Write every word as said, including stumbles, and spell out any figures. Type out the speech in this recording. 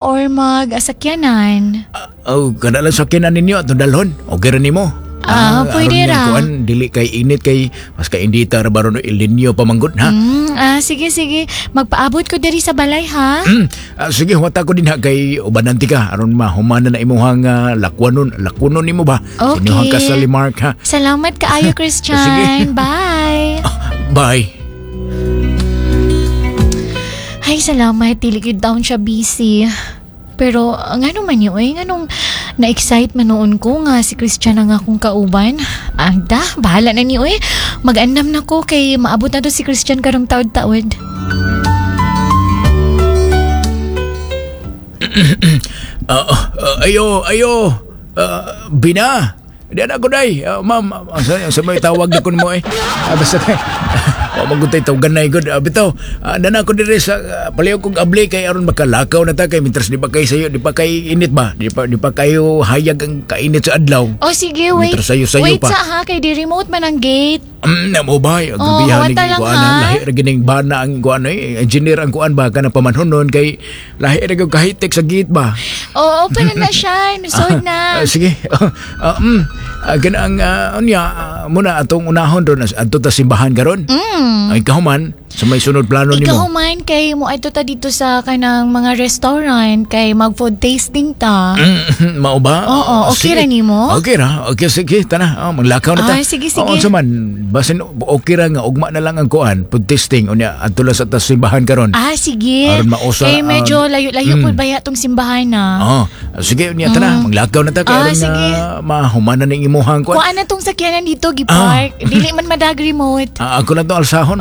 Or mag-asakyanan? Oh, kana lang sakyanan ninyo atong dalhon. Okay ra nimo. Ah, pwede aron nga ra. Kuan, dili kay init kay mas kay indita ra baron ilinyo pamanggod ha. Mm, ah, sige, sige. Magpaabot ko diri sa balay, ha? Mm, ah, sige, huwata ko din ha kay ubanan ti ka aron mahumana na imuhang uh, lakwanon, lakwanon nimo ba? Okay. Inyuhang kasal ni Mark ha. Salamat kaayo, Christian. Sige. Bye. Bye. Ay, salamat. Dili gyud down siya busy. Pero, ngano man yun eh? Nganong na-excite man noon ko nga si Christian ang akong kauban. Agda, bahala na niyo eh. Mag-andam na ko kay maabot na to si Christian karong taod-taod. Ah, ah, ah, ayo, ayo. Ah, bina. Di na ko day. Ah, ma'am, asa sa may tawag na kun mo eh. Ah, basta kay. Wa man gud tay tawagan na gud. Ah, bitaw. Ah, dana ko diri sa ah, palayo kog abli kay aron makalakaw na ta kay mintras di pa kay sayo, di pa kay init ba? Di pa di pa kayo hayag ang kainit sa adlaw. Oh, sige, wait. Mitra sayo-sayo wait pa. sa ha, kay di remote man ang gate. Mm, na mo ba? Ang Oh, gabihan ni hawata lang, kuan ha? lahi ra gining bana ang kuan eh. Engineer ang kuan ba kana pamanhonon kay lahi ra gyud kahitik sa gate ba? Oo, open na na siya. Nusod na. Ah, sige. Ah, mm, ah, ganang uh, unya ah, muna atong unahon ron adto ta simbahan karon. Mm. Ay kahuman sa may sunod plano Ikaw nimo. man kay mo adto ta dito sa kanang mga restaurant kay mag food tasting ta. Mm, mao ba? Oo, okay Sige. ra nimo? Okay ra. Okay sige, tana. Oh, maglakaw na ta. Ah, sige, sige. Oo, unsa man basin okay ra nga ugma na lang ang kuan, food tasting unya adto lang sa tas simbahan karon. Ah, sige. Aron mausap, Kay medyo ah, layo-layo mm. po baya tong simbahan na. Oh, sige unya tana, maglakaw na ta kay Ah, aron sige. nga mahumanan ning imuhang kuan. Kuan na tong sakyanan dito, gipark. Dili man madag remote. Ah, ako lang to alsahon.